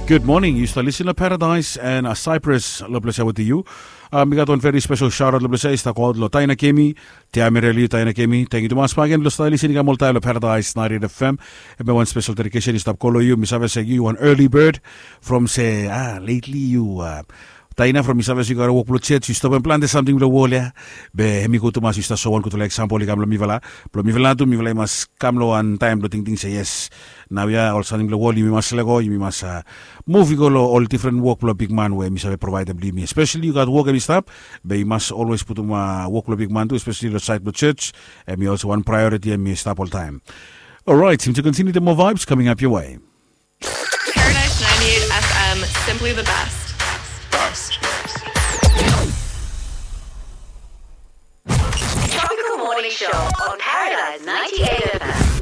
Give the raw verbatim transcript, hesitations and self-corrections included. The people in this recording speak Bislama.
Gud moning, yu stap lisin long Paradise and Cyprus long ples ya wetem yu. Mi gat wan veri spesel shaotaot long ples ya i stap go aot long Taina Kemi. Tia Mereli, Taina Kemi, tengiu tumas bakegen blong stap lisin i kam oltaem long Paradise naentin F M. Hemia wan spesel dedikesen i stap go long yu. Mi save se yu wan early bird from se a letli yu Taina, from mi save se yu gat wok blong church, yu stopem plante samting blong wol ya. Be hem i gud tumas yu stap soem wan gudfala eksampol i kam long mifala. Blong mifala tu mifala i mas kam long wan taem blong tingting se yes, naoia ol samting blong wol yumi mas lego, yumi mas muv i go long ol difren wok blong bigman we mi save provaedem blong yumi. Espeseli yu gat wok hem i stap, be yu mas olwes putum wok blong bigman tu, espeseli long saed blong church. Hem i olsem wan praeoriti hem i stap oltaem. Orait, yumi tu kontiniu de moa vibes coming up your way. Paradise ninety-eight F M, simply the best. Best. Tropical Morning Show on Paradise ninety-eight F M.